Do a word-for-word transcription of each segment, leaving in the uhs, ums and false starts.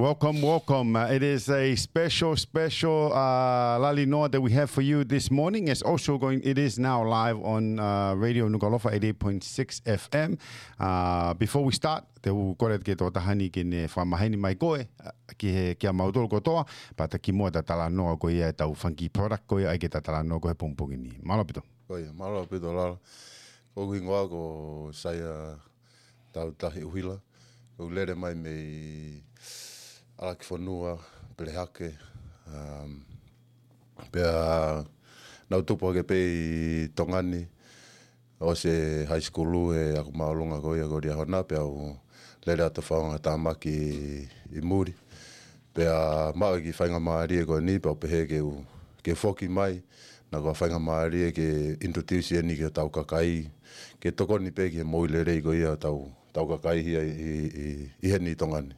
Welcome, welcome. Uh, it is a special, special uh, Lali Noa that we have for you this morning. It's also going, it is now live on uh, Radio Nukuʻalofa eighty-eight point six F M. Uh, before we start, te u kole ke tō tahani ke ne fakamaheni mai koe uh, ki he kia mautolu kotoa, pea ta kimuʻa ta talanoa ko ia e tau funky product ko ia ai ke ta talanoa ko he pongipongi ni. Mālō ʻaupito. Ko ia, mālō ʻaupito Lala. Ko hoku hingoa ko Saia Tautahi ʻUhila. Ko u lele mai mei ʻAlakifonua, Pelehake. Um, pea naʻa ku tupu hake pē ʻi Tonga ni, ʻosi e high school ʻi heʻeku māʻolunga ko ia ko Liahona, pea u lele atu ʻo fai ʻeku ngaahi tāmaki ʻi muli. Pea maʻu e kiʻi faingamālie ko eni, pea u pehē ke u, ke u foki mai, naʻa ku faingamālie ke introduce eni ki hotau kakai, ke tokoni pē ki he moʻui lelei ko ia hotau, hotau kakai hia ʻi, ʻi, ʻi, ʻi heni ʻi Tonga ni.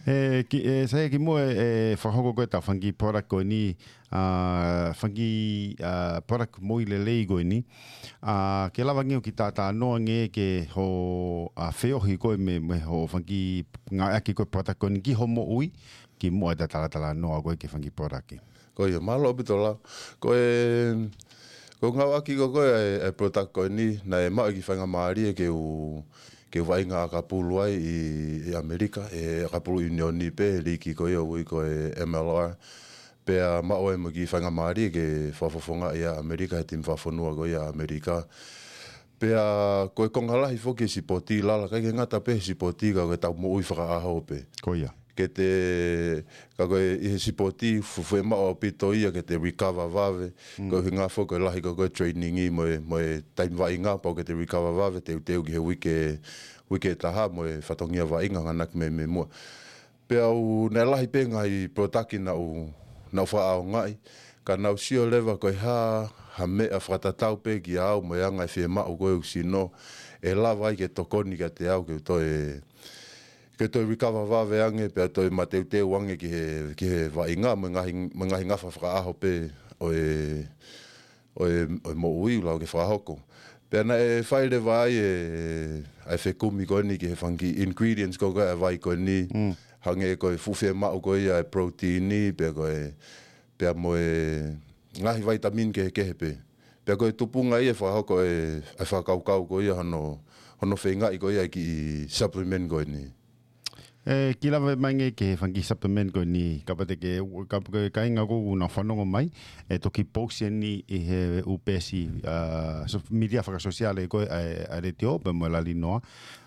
E, ki, e, Saia kimuʻa e, e fakahoko ko e tau funky product ko eni, a, funky, a, product moʻui lelei ko eni. A, ke lava nge ʻo kiʻi talanoa nge ke ho, a, feohi ko e mei, mei hoʻo funky ngāueʻaki ko e product ko eni ki hoʻo moʻui, kimuʻa e ta talatalanoa ko e ki he funky product. Ko ia, mālō ʻaupito Lala. Ko e, ko e ngāueʻaki ko e, ko e, e product ko eni, naʻe maʻu e kiʻi faingamālie ke u, ke u vaʻinga ʻakapulu ai ʻi, ʻi ʻAmelika, ʻi he ʻakapulu ʻiunioni pē, liki ko ia ʻoku ui ko e M L R. Pea maʻu ai mo e kiʻi faingamālie ke fakafofongaʻi ʻa ʻAmelika, he timi fakafonua ko ia ʻa ʻAmelika. Pea ko e konga lahi foki e sipoti Lala, ʻikai ke ngata pē he sipoti ka ko e tau moʻui fakaʻaho pē. Ko ia. Ke te, ka ko e ʻi he sipoti, fuʻu fiemaʻu ʻaupito ia ke te recover vave. Mm. Ko e ʻuhinga foki ko e lahi ko e, ko e training ʻi mo e, mo e taimi vaʻinga pau ke te recover vave, teuteu ki he uike, uike ʻe taha mo e fatongia vaʻinga ʻoku ʻamanaki mei, mei muʻa. Pea u, naʻe lahi pē ngaahi product naʻa ku, naʻa ku fakaʻaongaʻi, ka naʻa ku sio leva ko e hā, ha meʻa fakatatau pē kiate au mo e anga e fiemaʻu ko e ʻeku sino, ʻe lava ai ke tokoni kiate au ke u toe, ke toe recover vave ange, pea toe mateuteu ange ki he, ki he vaʻinga, mo e ngaahi, mo e ngaahi ngafa fakaʻaho pē ʻo e, ʻo e, ʻo e moʻui ʻoku lava ke fakahoko. Pea naʻe fai leva ai e, ʻa e fekumi ko eni ki he funky ingredients ko e, ko e ʻa e vai ko eni, mm, hangē ko e fuʻu fiemaʻu ko ia e protein, pea ko e, pea mo e ngaahi vitamin kehekehe pē. Pea ko e tupunga ia e fakahoko e, ʻa e fakakaukau ko ia hono, hono feingaʻi ko ia e kiʻi supplement ko eni. E, ke lava mai nge ki he funky supplement ko eni, kapau te ke, kapau ko e kāinga ʻoku nau fanongo mai, e toki post eni ʻi he ʻū peesi, a, so-, media fakasōsiale ko e, a, ʻa e letiō, pea mo e Lali Noa.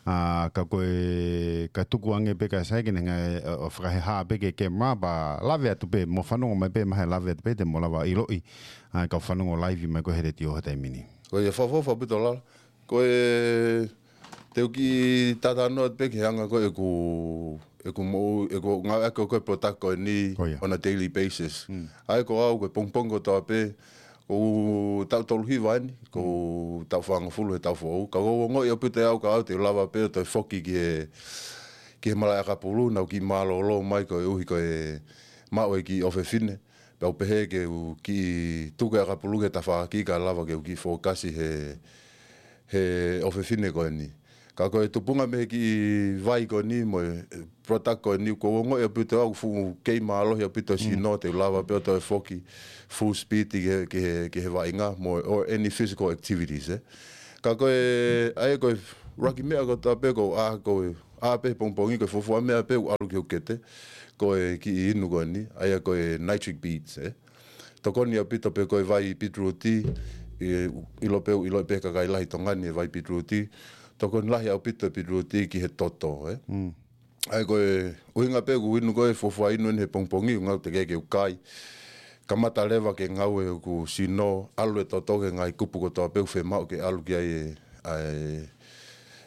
A, ka ko e, ka tuku ange pē ka sai ke ne ngai, a, ʻo fakahehā pē ki he camera, pea lave atu pē, mou fanongo mai pē, mahalo lave atu pē, te mou lava ʻiloʻi, a, kau fanongo live mai ko e he letiō he taimi ni. Ko ia fakaʻofoʻofa ʻaupito Lala. Ko e, te u kiʻi talanoa pē ki he anga ko e ʻeku, ʻeku moʻu, ʻeku ngāueʻaki ko e product ko eni, ko ia, on a daily basis. Mm. ʻA ia ko au, ko e pongipongi kotoa pē, ʻoku ou taʻu tolu hiva eni, ʻoku ou, mm, taʻu fāngofulu he taʻu foʻou. Ka ʻoku ou ongoʻi ʻaupito ʻe au ka au te u lava pē ʻo toe foki ki he, ki he malaʻe ʻakapulu, naʻa ku kiʻi mālōlō mai koeʻuhi ko e maʻu e kiʻi ʻofefine. Pea u pehē ke u kiʻi tuku e ʻakapulu ki he tafaʻaki kae lava ke u kiʻi fokasi he, he ʻofefine ko eni. Ka ko e tupunga mei he kiʻi vai ko eni mo e product ko eni, ʻoku ou ongoʻi ʻaupito au fuʻu kei mālohi ʻaupito e, mm, sino, te u lava pē ʻo toe foki full speed ki he, ki he, ki he vaʻinga mo, or any physical activities, ē. Ka ko e, ʻa ia ko e ʻuluaki meʻa kotoa pē ʻoku ou ʻā, ko e ʻā pē he pongipongi, ko e fuofua meʻa pē ʻoku ʻalu ki hoku kete, ko e kiʻi inu ko eni, ʻa ia ko e nitric beads, ē. Tokoni ʻaupito pē ko e vai pitiruti, ʻi, ʻilo pē, ʻilo pē kakai lahi Tonga ni e vai pitiruti, tokoni lahi ʻaupito e pitiruti ki he toto, ē. Mm. ʻA ia ko e ʻuhinga pē ʻoku ou inu ko e fuofua inu eni he pongipongi, ʻoku ngata ke, ke u kai. Kamata leva ke ngāue hoku sino, ʻalu e toto ki he ngaahi kupu kotoa pē ʻoku fiemaʻu ke ʻalu ki ai e, ʻa e,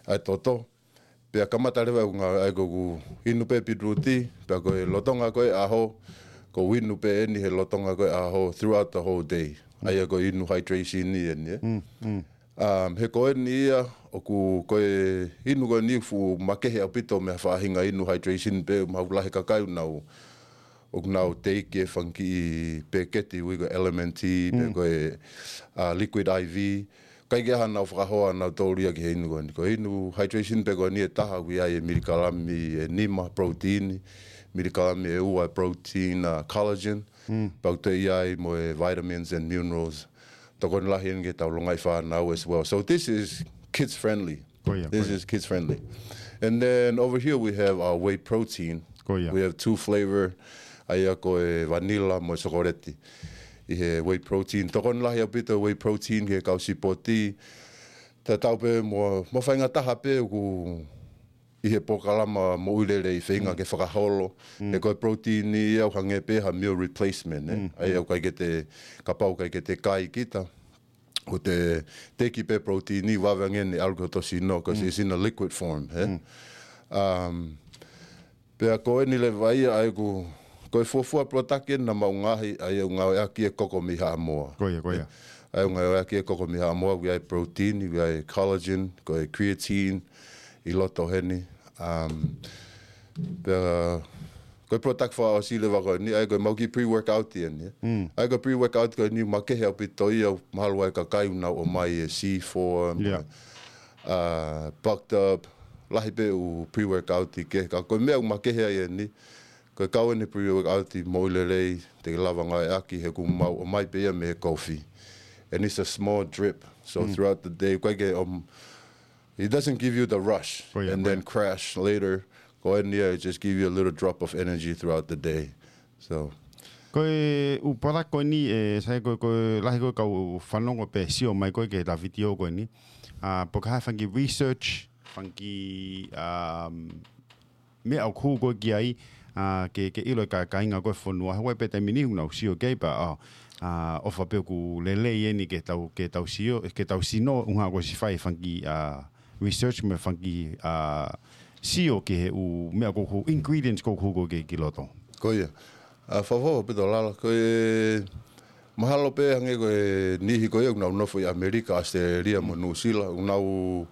ʻa e toto. Pea kamata leva ʻeku ngāue, ʻa ia ko ʻeku inu pē pitiruti, pea ko e lolotonga ko e ʻaho, ʻoku ou inu pē eni he lolotonga ko e ʻaho, throughout the whole day. Mm. ʻA ia ko e inu hydration eni, ē. Mm, mm. Um, he ko eni ia, ʻoku, ko e inu ko eni fuʻu makehe ʻaupito mei ha faʻahinga inu hydration pē, mahalo lahi e kakai ʻoku nau, ʻoku nau take e fanga kiʻi peketi ʻoku ui ko e L M N T, pe, mm, ko e, uh, Liquid I V. ʻIkai ke ʻi ai haʻanau fakahoa ʻanautolu ia ki he inu ko eni. Ko e inu hydration pē ko eni ʻe taha ʻoku ʻi ai e milikalami ʻe nima protein, milikalami ʻe ua e protein, uh, collagen. Pea ʻoku toe ʻi ai mo e vitamins and minerals. Tokoni lahi eni ki heʻetau longaʻi fānau as well. So this is kids friendly. Ko ia, This ko ia. is kids friendly. And then over here we have our whey protein. Ko ia. We have two flavor. ʻA ia ko e vanilla mo e sokoleti. ʻI he whey protein. Tokoni lahi ʻaupito whey protein ki he kau sipoti. Tatau pē mo, mo faingataʻa pē ʻoku ʻi he polokalama moʻui lelei feinga ke fakaholo. He ko e protein ia ʻoku hangē pē ha meal replacement, eh? ʻA ia ʻoku ʻikai ke te, kapau ʻikai ke te kai kita, ʻoku te teki pē protein ia vave ange ʻene ʻalu ki hoto sino, 'cause it's in a liquid form, eh? Um, pea ko eni leva ia ʻa ia ʻoku, ko e fuofua product eni naʻa mau ngaohi, ʻa ia ʻoku ngāueʻaki e koko mei Haʻamoa. Ko ia, ko ia. ʻA ia ʻoku ngāueʻaki e koko mei Haʻamoa, ʻoku ʻi ai e protein, ʻoku ʻi ai e collagen, ko e creatine, ʻi loto heni. Um, pea, ko e product fakaʻosi leva ko eni, ʻa ia ko e mau kiʻi pre-workout eni, eh? ʻA ia ko e pre-workout ko eni, makehe ʻaupito ia, mahalo ʻa e kakai ʻoku nau ʻomai e C four, Yeah. uh, Bucked Up, lahi pē ʻū pre-workout ʻi ke, ka ko e meʻa ʻoku makehe ai eni, ko e kau eni pre-workout moʻui lelei, te ke lava ngāueʻaki he ʻoku mau ʻomai pē ia mei he kofi. And it's a small drip. So throughout the day, ʻoku ʻikai ke, um, it doesn't give you the rush Ko ia, and ko then ia. Crash later. Ko eni ia, it just give you a little drop of energy throughout the day. So, Ko e ʻū product ko eni, e, sai ko, ko e lahi ko e kau fanongo pē sio mai ko e ke ta video ko eni. A, po ka ha fanga kiʻi research, fanga kiʻi, um, meʻa ʻoku hū ko e ki ai, a, ke, ke ʻilo e ka, kāinga ko e fonua. Hawaii pē taimi ni ʻoku nau sio ki ai pea, a, a, ʻofa pē ʻoku lelei eni ke tau, ke tau sio, ke tau sino, ʻuhinga ko e siʻi fai fanga kiʻi, a, research mo e fanga kiʻi, a, sio ki he ʻū meʻa ko e hū, ingredients ko e hū ko e ki loto. Ko ia. A, fakaʻofoʻofa ʻaupito Lala, ko e mahalo pē hangē ko e niʻihi ko ia ʻoku nau nofo ʻi ʻAmelika, ʻAositelēlia mo Nuʻusila, ʻoku nau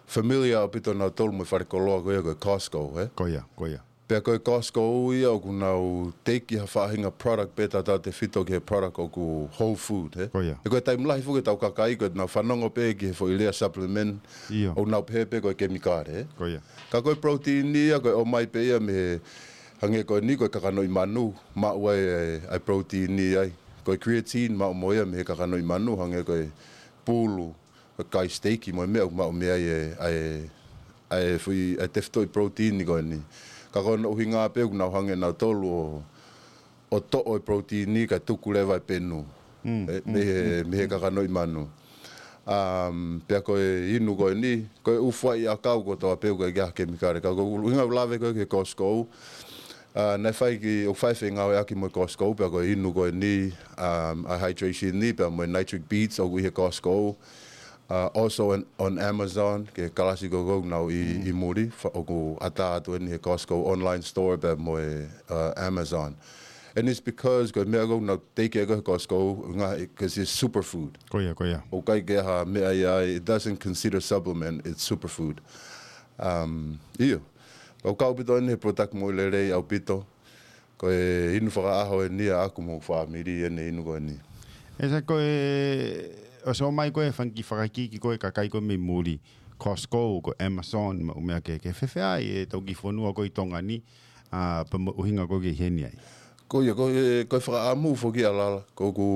familiar ʻaupito nautolu mo e falekoloa ko ia ko e Costco, eh? Ko ia, ko ia. Pea ko e Costco ia ʻoku nau teiki ha faʻahinga product pē tautautefito ki he product ʻoku whole food, eh? Ko ia. He ko e taimi lahi foki ʻetau kakai ko ʻenau fanongo pē ki he foʻi lea supplement, ʻoku nau pehē pē ko e kemikale, eh? Ko ia. Ka ko e protein ia, ko e ʻomai pē ia mei he hangē ko eni ko e kakanoʻi manu, maʻu ai e, e protein ia ai. Ko e creatine maʻu mo ia mei he kakanoʻi manu, hangē ko e pulu, ko e kai steak mo e meʻa ʻoku maʻu mei ai e, e, e foʻi, e tefitoʻi protein ko eni. Ka ko hono ʻuhinga pē ʻoku nau hangē nautolu ʻo, ʻo toʻo e protein kae tuku leva e penu. E, mei he, mei he kakanoʻi manu. Um, pea ko e inu ko eni, ko e ʻū fuaʻi ʻakau kotoa pē ʻoku ʻikai ke ʻi ai ha kemikale. Ka ko e ʻuhinga ʻoku lave ko e ki he Costco, a, naʻe fai ki, ʻoku fai fengāueʻaki mo e Costco, pea ko e inu ko eni, um, a hydration ni, pea mo e Nitric Beads, ʻoku ʻi he Costco. Uh, also on, on Amazon, ki he kalasi ko ē ʻoku nau ʻi, ʻi muli, fa-, ʻoku ʻatā atu eni he Costco online store, pea mo e, uh, Amazon. And it's because ko e meʻa ʻoku nau teiki ko ē he Costco, ngaahi, 'cause it's superfood. Ko ia, ko ia. ʻOku ʻikai ke ha meʻa ia ai, it doesn't consider supplement, it's superfood. Um, ʻio. ʻOku kau ʻaupito eni he product moʻui lelei ʻaupito. Ko e inu fakaʻaho eni ʻaʻaku mo e fāmili eni inu ko eni. E sai ko e, ʻosi ʻomai ko e fanga kiʻi fakaikiiki ko e kakai ko ē mei muli, Costco, ko e Amazon, mo e ʻū meʻa kehe, ke fēfē ai ʻetau kiʻi fonua ko ē ʻi Tonga ni, a, pea mo e ʻuhinga ko ē ke ʻi heni ai. Ko ia, ko e, ko e fakaʻamu foki ʻa Lala, ko ʻeku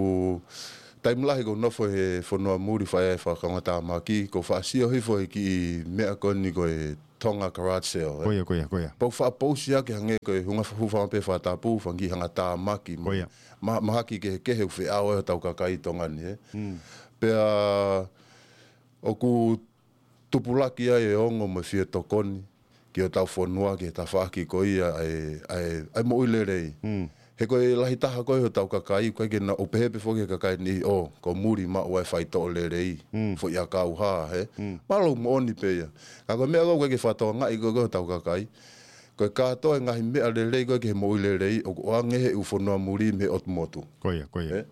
taimi lahi ʻoku ou nofo he fonua muli fai ai e fakakaungātāmaki, ʻoku ou faʻa sio hifo he kiʻi meʻa ko eni ko e Tonga garage sale, eh? Ko ia, ko ia, ko ia. Pea u faʻa pousi ʻaki hangē ko e hunga fa-, hūfanga pē fakatapu, fanga kiʻi hangatāmaki. Ko ia. Ma-, mahaki kehekehe ʻoku feʻao ai hotau kakai ʻi Tonga ni, eh? Pea ʻoku tupulaki ai e ongo mo e fie tokoni ki hotau fonua, ki he tafaʻaki ko ia ʻa e, ʻa e, ʻa e moʻui lelei. He ko e lahi taha ko ē hotau kakai, ʻoku ʻikai ke nau, ʻoku pehē pē foki he kakai ni, ʻo, ko muli maʻu ai e faitoʻo lelei, foʻi ʻakau hā, he. Mālō moʻoni pē ia. Ka ko e meʻa ʻoku ʻikai ke fakatokangaʻi ko ē hotau kakai. Ko e kātoa e ngaahi meʻa lelei ko ē ki he moʻui lelei, ʻoku ʻoange he ʻū fonua muli mei he ʻotu motu. Ko ia, ko ia.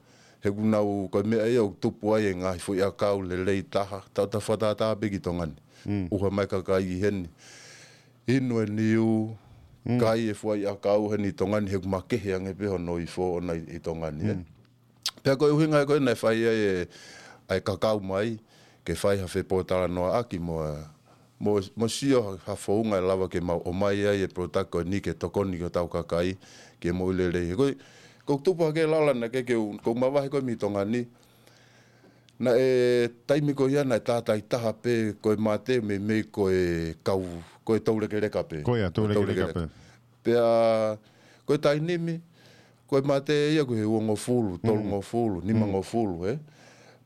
He ʻoku nau, ko e meʻa ia ʻoku tupu ai e ngaahi foʻi ʻakau lelei taha, tau ta fakatātā pē ki Tonga ni. ʻUha mai kakai ʻi heni. Inu e niu, kai e fuaʻi ʻakau heni ʻi Tonga ni, he ʻoku makehe ange pē hono ifo ʻona ʻi, ʻi Tonga ni, eh. Pea ko e ʻuhinga ko ē naʻe fai ai e, ʻa e kakau mai, ke fai ha fepōtalanoaʻaki mo e, Mo, mo sio ha, ha founga ʻe lava ke mau ʻomai ai e product ko eni ke tokoni ki hotau kakai ke moʻui lelei. He ko e, ko e tupu hake lala naʻe ʻikai ke u, ko e mavahe ko ē mei Tonga ni. Naʻe taimi ko ia naʻe tātāitaha pē ko e mate meimei ko e kau, ko e toulekeleka pē. Ko ia, toulekeleka pē. Pea, ko e taimi ni, ko e mate ia ko e uongofulu, tolungofulu, nimangofulu, ē.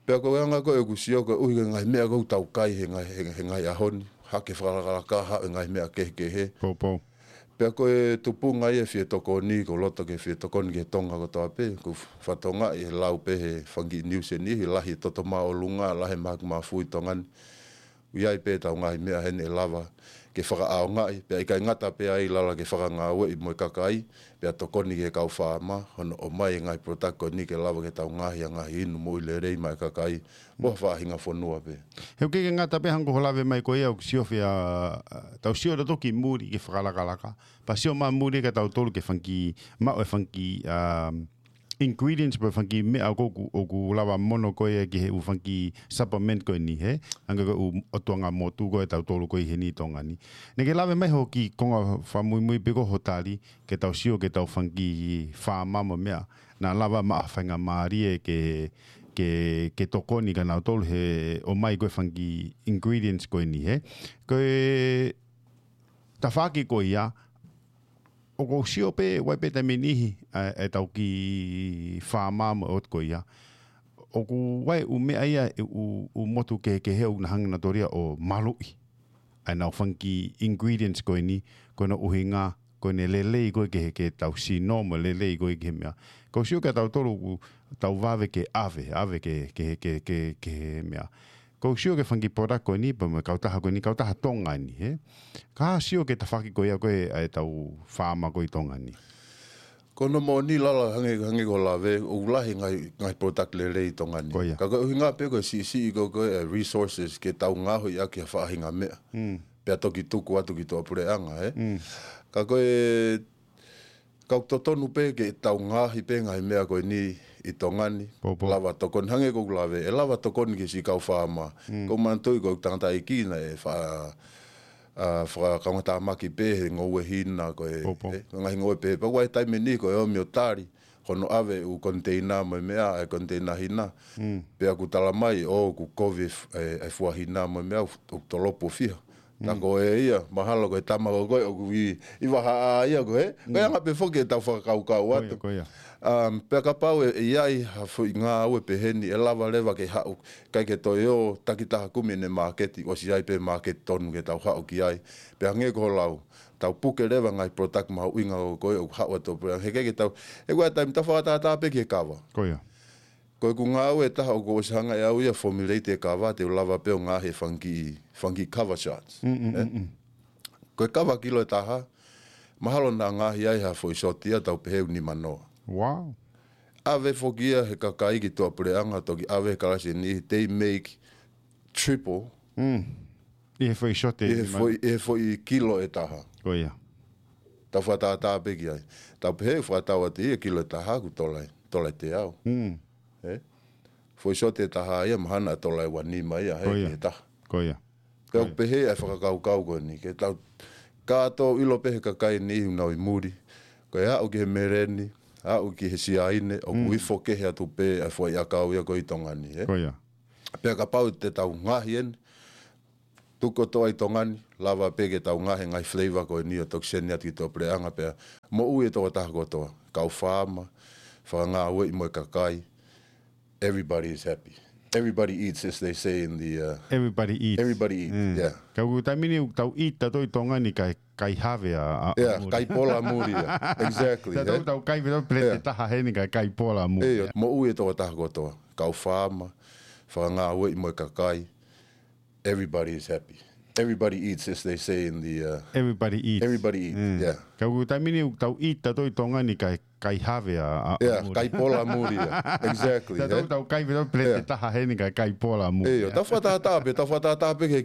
Pea ko e anga ko ē ʻeku sio ko e ʻuhi ko e ngaahi meʻa ko ē ʻoku tau kai he ngaahi, he, he ngaahi ʻaho ni, hake fakalakalaka, haʻu e ngaahi meʻa kehekehe. Poupou. Pea ko e tupunga ia e fie tokoni, ko e loto ke fie tokoni ki he Tonga kotoa pē, ko e fatongia e lau pē he fanga kiʻi news ʻe niʻihi, lahi e toto māʻolunga, lahi e mahaki mafui ʻi Tonga ni. ʻOku ʻi ai pē ʻetau ngaahi meʻa heni ʻe lava ke fakaʻaongaʻi, pea ʻikai ngata pē ai lala ke fakangāueʻi mo e kakai, pea tokoni ki he kau faama, hono ʻomai e ngaahi product ko eni ke lava ke tau ngaohi ʻa e ngaahi inu moʻui lelei maʻa e kakai, mo ha faʻahinga fonua pē. He ʻoku ʻikai ke ngata pē hangē ko hoʻo lave mai ko ia ʻoku sio fia, tau sio tautolu ki muli ke fakalakalaka, pea sio mai muli kia tautolu ke fanga kiʻi, maʻu e fanga kiʻi, um, ingredients pe fanga kiʻi meʻa ʻoku, ʻoku, ʻoku lava mono ko ia ki he ʻū fanga kiʻi supplement ko eni, hē? Hangē ko e ʻū ʻotuanga motu ko ē ʻa tautolu ko ē ʻi heni ʻi Tonga ni. Naʻe ke lave mai hoʻo kiʻi konga fakamuimui pē ko hoʻo tali, ke tau sio ki heʻetau fanga kiʻi faama mo e meʻa. Naʻa lava maʻu ha faingamālie ke, ke, ke tokoni kia nautolu he ʻomai ko ē fanga kiʻi ingredients ko eni, hē? Ko e tafaʻaki ko ia, ʻoku ou sio pē, ʻoku ʻi ai pē taimi ʻe niʻihi, ʻa e, ʻetau kiʻi faama mo e ʻotu ko ia. ʻOku ʻi ai e ʻū meʻa ia, e ʻū, ʻū motu kehekehe ʻoku na hanga nautolu ia ʻo maluʻi ʻa ʻenau fanga kiʻi ingredients ko eni, ko hono ʻuhinga, ko ʻene lelei ko ē ki he, ki heʻetau sino mo e lelei ko ē ki he meʻa. ʻOku ou sio kia tautolu ʻoku tau vave ke ʻave, ʻave ki he, ki he, ki he, ki he, ki he meʻa. ʻOku ou sio ki he fanga kiʻi product ko eni, pea mo e kautaha ko eni, kautaha Tonga eni, hē? Ka sio ki he tafaʻaki ko ia ko ē ʻa ʻetau faama ko ē ʻi Tonga ni. Ko hono moʻoni lala hangē, hangē ko hoʻo lave, ʻoku lahi e ngaahi, ngaahi product lelei ʻi Tonga ni. Ko ia. Ka ko e ʻuhinga pē ko e siʻisiʻi ko ē ko e resources ke tau ngaohi ʻaki ha faʻahinga meʻa. Mm. Pea toki tuku atu ki tuʻapuleʻanga, hē? Mm. Ka ko e Ka ʻoku totonu pē ke tau ngaohi pē ngaahi meʻa ko eni ʻi Tonga ni. Poupou. Lava tokoni, hangē ko ʻeku lave, ʻe lava tokoni ki he siʻi kau faama. Mm. ʻOku ou manatuʻi ko ʻeku tangataʻeiki naʻe fa, ʻa, fakakaungātāmaki pē he ngoue hina ko e, Poupou. ʻE, ngaahi ngoue pē. Pea ʻoku ʻi ai e taimi ʻe niʻihi ko e ʻomi ʻo tali, hono ʻave e ʻū container mo e meʻa, e container hina. Mm. Pea ʻoku tala mai, ʻoku kovi e f-, e, e fua hina mo e meʻa, ʻoku, ʻoku tolopo fiha. Ka ko e ia, mahalo ko e tama ko ē ʻoku ʻi, ʻi Vahaʻa ia ko ē. Ko e anga pē foki ʻetau fakakaukau atu. Ko ia, ko ia. Um, pea kapau ʻe, ʻe ʻi ai ha foʻi ngāue pehē ni ʻe lava leva ke haʻu, ʻikai ke toe ō takitaha kumi ʻene māketi, ʻosi ʻi ai pē māketi tonu ke tau haʻu ki ai. Pea hangē ko hoʻo lau, tau puke leva ngaahi product mahuʻinga ko ē ʻoku haʻu atu pē. He ʻikai ke tau, ʻe ʻi ai e taimi tau fakatātā pē ki he kava. Ko ia. Ko ʻeku ngāue ʻe taha ʻoku ou ʻosi hanga ʻe au ia ʻo formulate e kava te u lava pē ʻo ngaohi e fanga kiʻi, fanga kiʻi kava shots. Mm, mm, ē? Mm, mm. Ko e kava kilo ʻe taha, mahalo naʻa ngaohi ai ha foʻi shot ia tau pehē ʻe nimanoa. Wow. ʻAve foki ia he kakai ki tuʻapuleʻanga, toki ʻave he kalasi ʻe niʻihi, they make triple. Mm. ʻI he foʻi shot ʻe ʻI he nima. Foʻi, ʻi he foʻi kilo ʻe taha. Ko ia. Tau fakatātā pē ki ai. Tau pehē ʻe fakatau atu ia kilo ʻe taha ʻoku tola, tola ʻe teau. Mm. Ē? Foʻi shot ʻe taha ia mahalo naʻa tola ʻe ua nima ia, hē, Ko ia. Ki he taha. Ko ia. Pea Ko ia. Pehē ʻa e fakakaukau ko eni, ke tau kātoa ʻilo pē he kakai ʻe niʻihi ʻoku nau ʻi muli. Ko e aʻu ki he meleni, aʻu ki he siaine, ʻoku Mm. ifo kehe atu pē ʻa e foʻi ʻakau ia ko ē ʻi Tonga ni, ē? Ko ia. Pea kapau te tau ngaohi eni, tuku kotoa ʻi Tonga ni, lava pē ke tau ngaohi e ngaahi flavor ko eni ʻo toki send atu ki tuʻapuleʻanga pea moʻui e tokotaha kotoa. Kau faama, fakangāueʻi mo e kakai, everybody is happy. Everybody eats, as they say in the, uh, Everybody eats. Everybody eats, Mm. yeah. Ka ʻoku taimi ni ʻoku tau eat tautolu ʻi Tonga ni kae, kae have ʻa, ʻa, ʻa Yeah, muli. Kae pola muli ia. Exactly, Tautolu eh? Tau kai pē tautolu peleti Yeah. ʻe taha heni kae, kae pola muli Yeah, ia. Moʻui e tokotaha kotoa. Kau faama, fakangāueʻi mo e kakai, everybody is happy. Everybody eats, as they say in the, uh, Everybody eats. Everybody eats, Mm. yeah. Ka ʻoku taimi ni ʻoku tau eat tautolu ʻi Tonga ni kae, kae have ʻa, ʻa, ʻa Yeah, muli. Kae pola muli ia. Exactly, Tautolu eh? Tau kai pē tautolu peleti ʻe Yeah. taha heni kae, kae pola muli Yeah, ia. tau fakatātā pē, tau fakatātā pē ki he